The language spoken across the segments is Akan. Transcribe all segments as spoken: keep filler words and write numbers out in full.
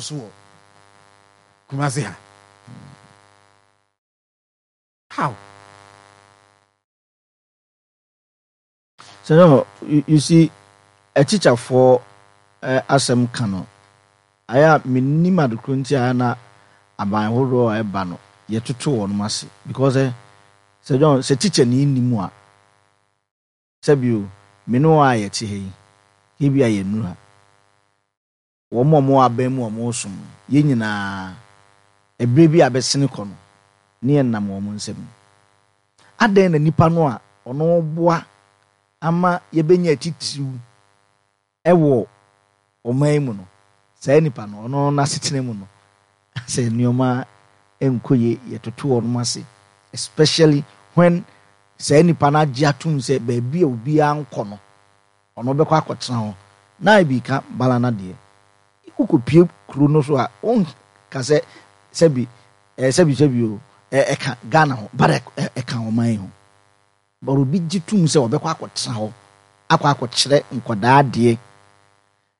So wɔ Kumase ha, how? So no, you, you see, atikyafoɔ eh, asɛm ka no ayɛ a, mennim adekoro nti a na aban horoɔ a ɛba no yɛtoto wɔn ase, because eh, sɛ John, sɛ teacher ni nni mu a, sɛbio me ne wɔn a yɛte ha yi, ebi a yɛnnuru ha, wɔn a wɔwɔ aban mu a wɔresom no, yɛn nyinaa ɛberɛ bi a bɛsene kɔ no ne yɛnam wɔn nsam. Adɛn na nipa no a ɔno boa ama yɛbɛnya atitiriw ɛwɔ ɔman yi mu no, saa nipa no, ɔno n'asetena mu no, sɛ nneɛma nkɔ yie, yɛtoto wɔn ase, especially when saa nipa no agye atom sɛ baabi a obiara nkɔ no, ɔno bɛkɔ akɔtena hɔ na ebi ka bala na deɛ wokɔpie kuro no so a, wonka sɛ sɛbi ɛɛ sɛbi sɛbi o, ɛ ɛka Ghana ho, but ɛka ɔman yi ho, but obi gye tum sɛ ɔbɛkɔ akɔtena hɔ akɔ akɔkyerɛ nkɔdaa adeɛ,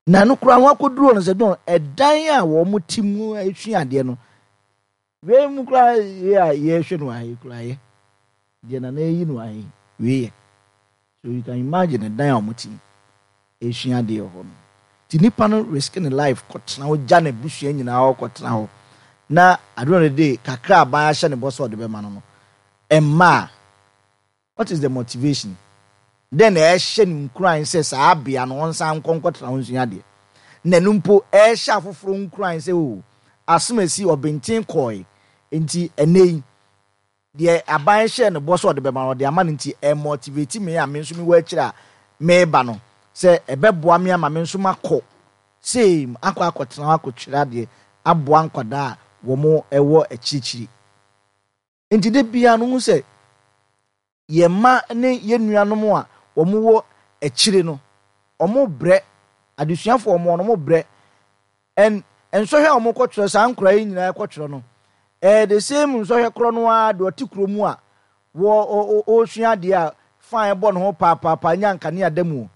na no koraa ho akɔduro no sɛ dɔn ɛdan a wɔn ti mu esua adeɛ no, wei mu koraa yɛ a yɛrehwɛ no ahe koraa yɛ deɛ nana eyi no ahe wei yɛ. So you can imagine ɛdan a wɔn ti mu esua adeɛ wɔ hɔ no. Ti nipa no risk ne life kɔtena hɔ, gya n'abusua nyinaa hɔ kɔtena hɔ, na at the end of the day, kakra aban ahyɛ ne bɔ sɛ ɔde bɛma no no ɛmma a, what is the motivation then? Ɛhyɛ ne nkuran sɛ saa abea no ɔnsan nkɔ nkɔtena hɔ nsua adeɛ, na ɛno mpo ɛhyɛ afoforɔ nkuran sɛ o, asem esi ɔbɛnten kɔɛ nti ɛnɛ yi deɛ aban hyɛ ne bɔ sɛ ɔde bɛma no, ɔde ama no, nti ɛmotivate me a me nso mewɔ akyire a meba no sɛ ɛbɛboa me ama me nso makɔ same akɔ akɔtena hɔ akɔtwerɛ adeɛ aboa nkwadaa a wɔn ɛwɔ akyirikyiri. Nti de bia no ho sɛ yɛn mma ne yɛn nuanom a wɔn wɔ akyire no, wɔn brɛ, adesuafoɔ wɔn no wɔn brɛ, ɛn nsɔhwɛ a wɔn kɔtwerɛ, saa nkwadaa yi nyinaa kɔtwerɛ no, ɛyɛ the same nsɔhwɛ korɔ no ara deɛ ɔte kurom a wɔ ɔresua adeɛ a fine bɔ ne ho paapaa nya nkanea da mu,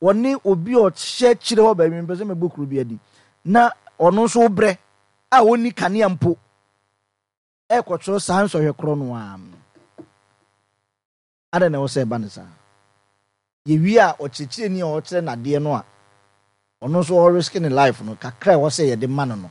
wɔne obi a ɔhyɛ kyerɛ hɔ baabi mpɛ sɛ mɛbɔ kuro bi adi na ɔno nso brɛ a ɔnni kanea mpo ɛkɔtwerɛ saa nsɔhwɛ korɔ no ara. Adɛn na ɛwɔ sɛ ɛba ne saa? Yɛwie a, ɔkyerɛkyerɛni a ɔkyerɛ n'adeɛ no a ɔno nso ɔrisk ne life no kakra a ɛwɔ sɛ yɛde ma no no.